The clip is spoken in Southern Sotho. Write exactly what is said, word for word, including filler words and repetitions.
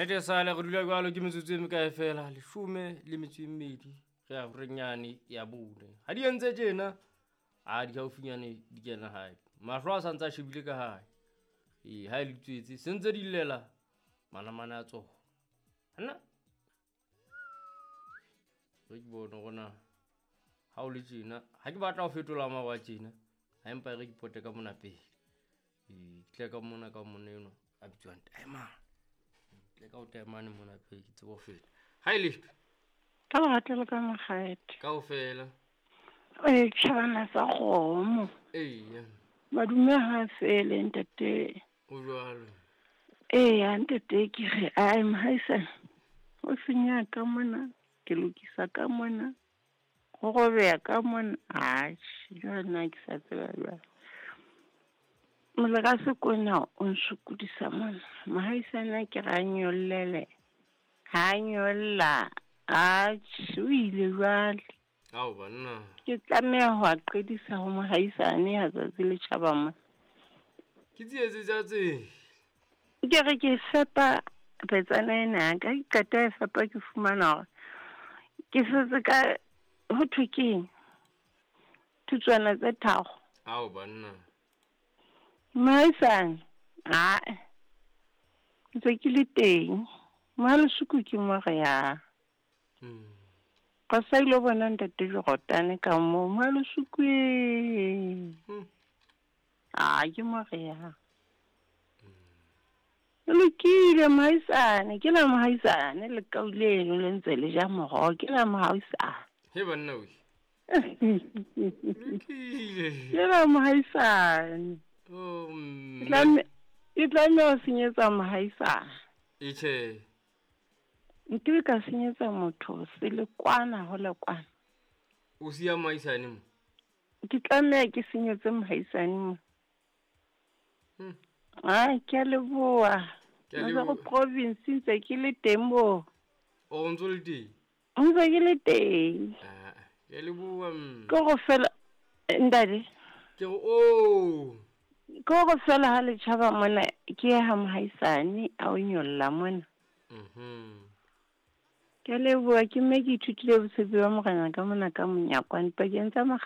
Nnete sale re dula jwalo ke metsotso e mekae fela, leshome le metso e mmedi re ya renyane ya bone. Ha di entse tjena, a di haufinyane di kena hae. Mahlo a santse a shebile ka hae. Ee, ha e le tswetse se ntse di llela manamane a tsona. Hanna re ke bone hore na ha o le tjena, ha ke batla ho fetola mawa tjena, ha empa re ke pote ka mona pele. Ee, ke tle ka mona ka monna enwa a bitswang Taemane. Tle ka o Taemane mona pele ke tsebe ho feta. Ha e le Ka lerato le ka makgethe. Kaofela. Ee, tjhabana sa kgomo. Eya. Madume ha fele ntate. O jwalo. Eya ntate ke re ai mohaisane. O senya ka mona, ke lokisa ka mona. Ho robeha ka mona. Atjhe, jwale nna ke sa tseba jwale. Motlakase ke ona o nsokodisa mona. Mohaisane ke re a nyollele. Ha nyolla. Atjhe, o ile jwale. Ao banna. Ke tlameha ho a qedisa ho mohaisane ha tsatsi le tjhaba mona. Ke tsietsi tsa tse. Ke re ke fepa petsana ena ya ka, ke qeta e fepa ke fumana hore ke setse ka ho thwe keng? Thutswana tse tharo. Ao banna. Mohaisane, ae. Ntse ke le teng. Mohalesoko ke mo re ya. Hmm. Ka sa ilo bona ntate Jorotane ka moo, mohalesoko e. Hmm. A ke mo re ya. E lokile mohaisane, ke la mohaisane le kau leno le ntse le ja moroho, ke la mohaisane. He banna we. Lokile. Ke la mohaisane. Oh, mme. Ke tlamme-, ke tlameha ho senyetsa mohaisane. E tjhe. Nkebe ka senyetsa motho se le kwana ho le kwana. O siya mohaisane mo? Ke tlameha ke senyetse mohaisane mo. Hmm. Ai, ke a leboha. Ke a Matsaro leboha. province ntse ke le teng mo. O ntse o le teng? Ntse ke le teng. Ah, ke a leboha mme. Ke go fela ntate. Ke re o. Ke go fela ha le tjhaba mona ke ya ha mohaisane a o nyolla mona. Mhm. Ke a leboha ke mme ke ithutile botshepi ba morena ka mona ka monyakwane pakeng tsa